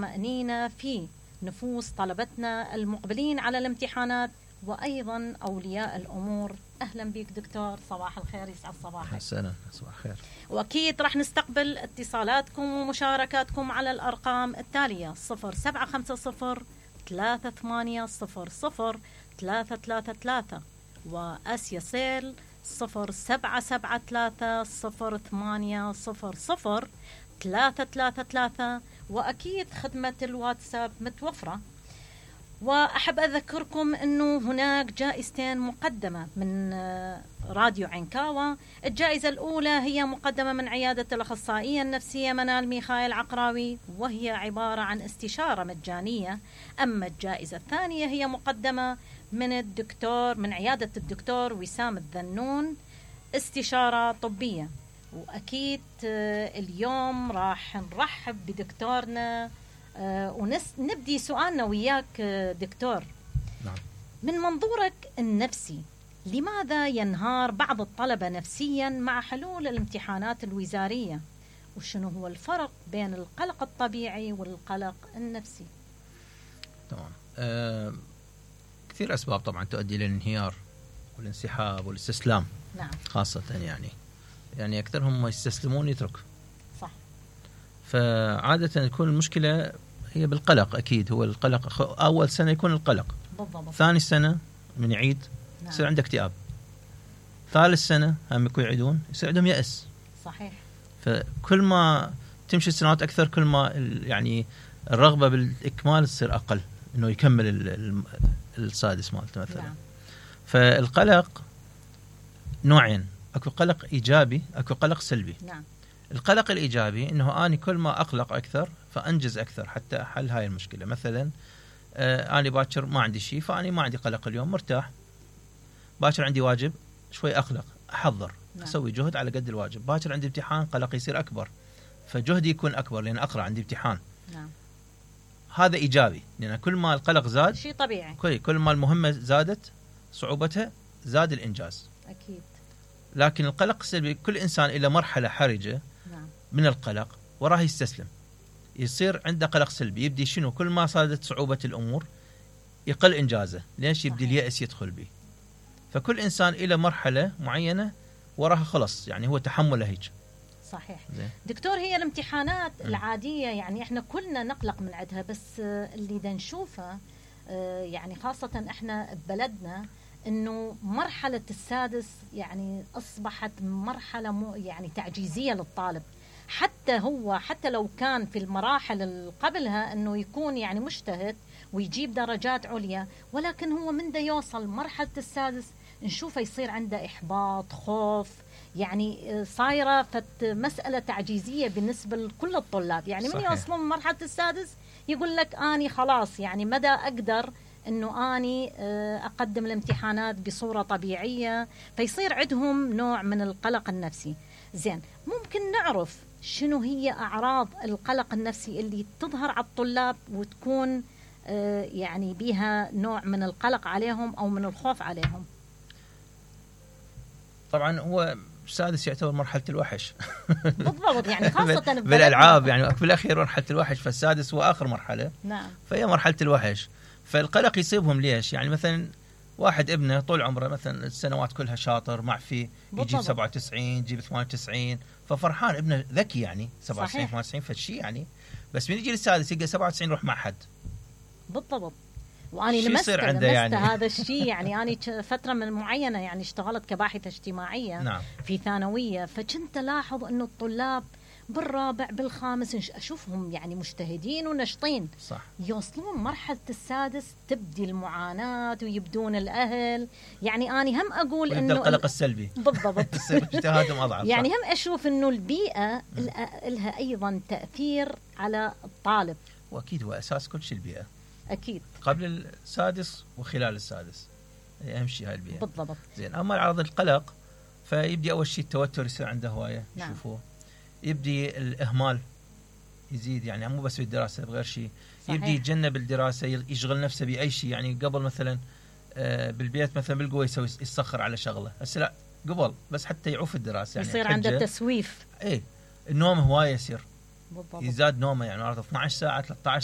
مأنينة في نفوس طلبتنا المقبلين على الامتحانات وأيضا أولياء الأمور. أهلا بك دكتور، صباح الخير، يسعد صباحك. حسنا، صباح الخير. وأكيد راح نستقبل اتصالاتكم ومشاركاتكم على الأرقام التالية: 0750 3800 333 وآسيا سيل 0773 0800 333 وأكيد خدمة الواتساب متوفرة. وأحب أذكركم أنه هناك جائزتين مقدمة من راديو عنكاوة. الجائزة الأولى هي مقدمة من عيادة الأخصائية النفسية منال ميخائيل عقراوي، وهي عبارة عن استشارة مجانية. أما الجائزة الثانية هي مقدمة من عيادة الدكتور وسام الذنون، استشارة طبية. وأكيد اليوم راح نرحب بدكتورنا ونبدي سؤالنا وياك دكتور. نعم. من منظورك النفسي، لماذا ينهار بعض الطلبة نفسيا مع حلول الامتحانات الوزارية؟ وشنو هو الفرق بين القلق الطبيعي والقلق النفسي؟ تمام. كثير أسباب طبعا تؤدي للانهيار والانسحاب والاستسلام. نعم. خاصة يعني أكثرهم يستسلمون يترك. صح. فعادة تكون المشكلة هي بالقلق. أكيد هو القلق. أول سنة يكون القلق. بالضبط. ثاني سنة من يعيد يصير عنده اكتئاب. ثالث سنة هم يكون يعيدون يصير عندهم يأس. صحيح. فكل ما تمشي السنوات أكثر كل ما يعني الرغبة بالإكمال تصير أقل، إنه يكمل السادس مالته مثلا. نعم. فالقلق نوعين، أكو قلق إيجابي، أكو قلق سلبي. نعم. القلق الإيجابي إنه أنا كل ما أقلق أكثر فأنجز أكثر حتى حل هاي المشكلة. مثلا أنا باكر ما عندي شيء فأنا ما عندي قلق اليوم، مرتاح. باكر عندي واجب شوي أقلق، أحضر. نعم. أسوي جهد على قد الواجب. باكر عندي امتحان قلقي يصير أكبر، فجهدي يكون أكبر لأن أقرأ عندي امتحان. نعم. هذا إيجابي، لأن كل ما القلق زاد شيء طبيعي. كل ما المهمة زادت صعوبتها زاد الإنجاز. أكيد. لكن القلق السلبي كل إنسان إلى مرحلة حرجة نعم. من القلق وراه يستسلم، يصير عنده قلق سلبي. يبدي شنو؟ كل ما صارت صعوبة الأمور يقل إنجازه، ليش؟ يبدي اليأس يدخل به. فكل إنسان إلى مرحلة معينة وراها خلص، يعني هو تحمله هيك. صحيح. زين. دكتور، هي الامتحانات العادية يعني احنا كلنا نقلق من عندها، بس اللي دا نشوفه يعني خاصة احنا ببلدنا انه مرحلة السادس يعني اصبحت مرحلة يعني تعجيزية للطالب. حتى لو كان في المراحل اللي قبلها انه يكون يعني مجتهد ويجيب درجات عليا، ولكن هو من دا يوصل مرحلة السادس نشوفه يصير عنده إحباط، خوف، يعني صايرة مسألة تعجيزية بالنسبة لكل الطلاب. يعني من يوصلون من مرحلة السادس يقول لك أني خلاص يعني مدى أقدر أنه أني أقدم الامتحانات بصورة طبيعية، فيصير عندهم نوع من القلق النفسي. زين، ممكن نعرف شنو هي أعراض القلق النفسي اللي تظهر على الطلاب وتكون يعني بها نوع من القلق عليهم أو من الخوف عليهم؟ طبعا هو السادس يعتبر مرحلة الوحش. بالضبط، يعني خاصة بالألعاب يعني بالأخير مرحلة الوحش، فالسادس هو آخر مرحلة. نعم. فهي مرحلة الوحش. فالقلق يصيبهم ليش؟ يعني مثلا واحد ابنه طول عمره مثلا السنوات كلها شاطر معفي، يجيب 97 يجيب 98 ففرحان، ابنه ذكي يعني 97 98 فشي يعني. بس من يجي للسادس يلقى 97 يروح معهد. بالضبط. وأنا لمست يعني هذا الشيء. يعني أنا فترة من معينة يعني اشتغلت كباحثة اجتماعية. نعم. في ثانوية، فكنت ألاحظ أنه الطلاب بالرابع بالخامس أشوفهم يعني مجتهدين ونشطين. صح. يوصلون مرحلة السادس تبدي المعاناة ويبدون الأهل. يعني أنا هم أقول إنه القلق السلبي. بالضبط. اجتهادهم أضعف. يعني هم أشوف إنه البيئة لها أيضا تأثير على الطالب. وأكيد هو أساس كل شيء البيئة. أكيد. قبل السادس وخلال السادس أهم شيء هاي البيئة. بالضبط. زين. أما أعراض القلق فيبدي أول شيء التوتر يصير عنده هواية. نعم. شوفوه. يبدي الإهمال يزيد، يعني مو بس بالدراسة بغير شيء. يبدي يتجنب الدراسة، يشغل نفسه بأي شيء. يعني قبل مثلا بالبيت مثلا بالقوة يسخر على شغله، هسه لا قبل بس حتى يعوف الدراسة يعني يصير عنده تسويف. ايه النوم هواية يصير بالضبط. يزداد نومه، يعني 12 ساعه 13